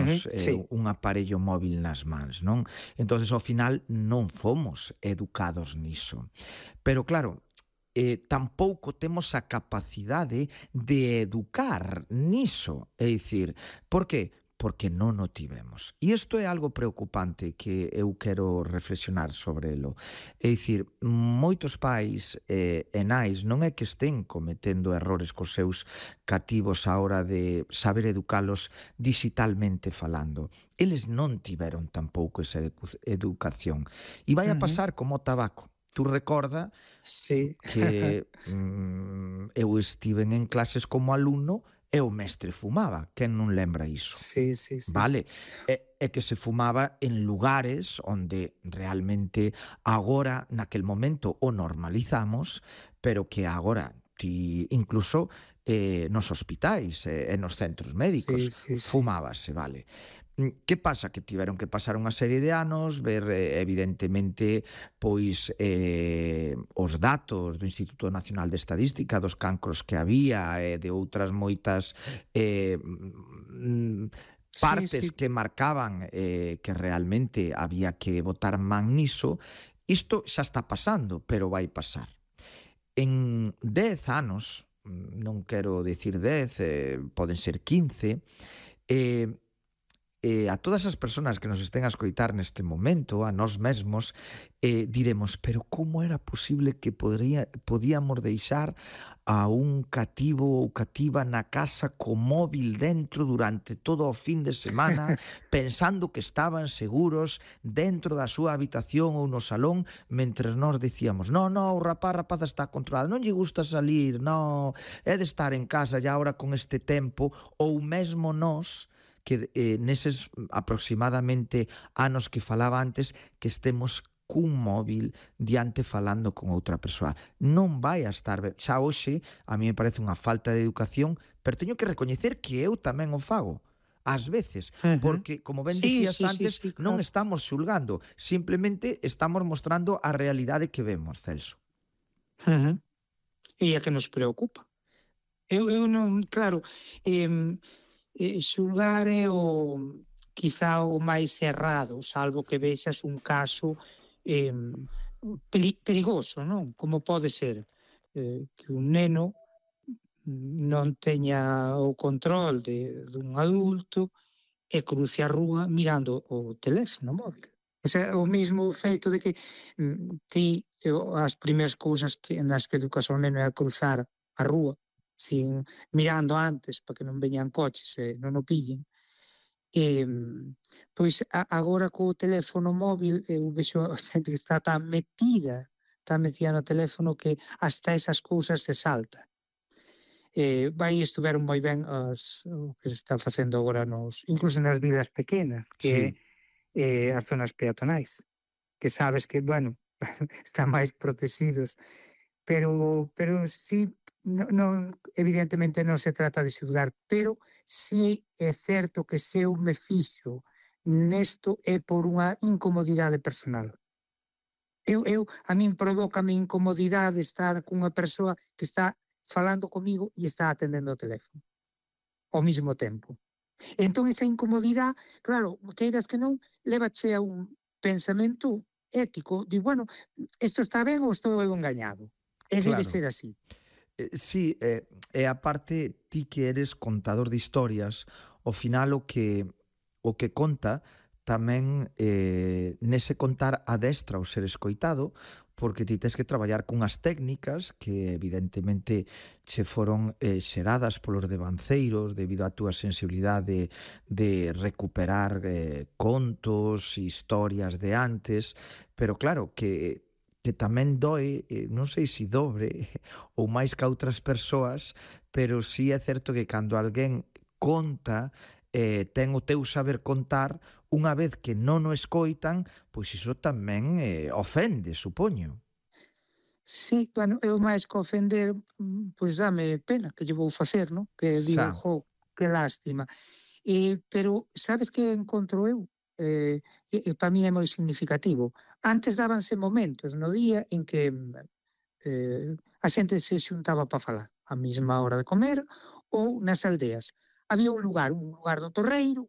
temos Sí. un aparello móvil nas mans, non? Entonces, ao final, non fomos educados niso. Pero claro, tampouco temos a capacidade de educar niso. É dicir, por que? Porque non o tivemos. E isto é algo preocupante que eu quero reflexionar sobre elo. É dicir, moitos pais e nais non é que estén cometendo errores cos seus cativos á hora de saber educalos digitalmente falando. Eles non tiveron tampouco esa educación. E vai a Ujú. pasar como o tabaco. Tú recorda Sí. que eu estiven en clases como alumno e o mestre fumaba. Quen non lembra iso? Sí, sí, sí. Vale? E que se fumaba en lugares onde realmente agora, naquel momento, o normalizamos, pero que agora ti incluso nos hospitais e nos centros médicos Sí, sí, sí. fumábase, vale? Que pasa? Que tiveron que pasar unha serie de anos, ver evidentemente pois os datos do Instituto Nacional de Estadística dos cancros que había e de outras moitas Sí, partes sí. que marcaban que realmente había que botar man niso. Isto xa está pasando, pero vai pasar. En 10 anos, non quero dicir 10, poden ser 15, eh, a todas as persoas que nos estén a escoitar neste momento, a nós mesmos, diremos, pero como era posible que podíamos deixar a un cativo ou cativa na casa co móvil dentro durante todo o fin de semana, pensando que estaban seguros dentro da súa habitación ou no salón, mentres nós dicíamos, no, o rapaza está controlado, non lle gusta salir, no, é de estar en casa e agora con este tempo, ou mesmo nós, que neses aproximadamente anos que falaba antes, que estemos cun móvil diante falando con outra persoa. Non vai a estar ben. Xa hoxe a mí me parece unha falta de educación, pero teño que recoñecer que eu tamén o fago ás veces, Ujú. porque, como ben Sí, dicías sí, sí, antes, sí, non claro. estamos xulgando, simplemente estamos mostrando a realidade que vemos, Celso. Ujú. E é que nos preocupa. Eu non, claro, xulgar é o quizá o máis errado, salvo que vexas un caso perigoso, non? Como pode ser que un neno non teña o control dun adulto e cruce a rúa mirando o teléfono móvil. O sea, o mismo feito de que ti as primeiras cousas nas que educas ao neno é a cruzar a rúa sin mirando antes para que non veñan coches e non o pillen. Pois agora co teléfono móvil eu vexo a xente que está tan metida no teléfono que hasta esas cousas se salta. Vai estuveron moi ben o que se está facendo agora incluso nas vilas pequenas, que é Sí, as zonas peatonais, que sabes que, bueno, están máis protegidos, pero sí, non evidentemente non se trata de xulgar, pero sí é certo que se eu me fixo nesto é por unha incomodidade personal. A min provócame incomodidade estar cunha persoa que está falando comigo e está atendendo o teléfono ao mesmo tempo. Entón esa incomodidade, claro, queiras que non, lévache a un pensamento ético, di, bueno, isto está ben ou estou eu engañado? E debe claro. ser así. Sí, e aparte ti que eres contador de historias, ao final o que conta tamén nese contar adestra o ser escoitado, porque ti tes que traballar cunhas técnicas que evidentemente che foron xeradas polos devanceiros debido á túa sensibilidade de recuperar contos, historias de antes, pero claro que tamén doe, non sei se dobre ou máis que a outras persoas, pero sí é certo que cando alguén conta, ten o teu saber contar, unha vez que non o escoitan, pois iso tamén ofende, supoño. Sí, bueno, eu máis que ofender, pois dame pena, que lle vou facer, non? Que digo: Xa, "Jo, que lástima". Pero sabes que encontro eu? Para min é moi significativo. Antes dábanse momentos no día en que a xente se xuntaba para falar, á mesma hora de comer ou nas aldeas. Había un lugar do torreiro,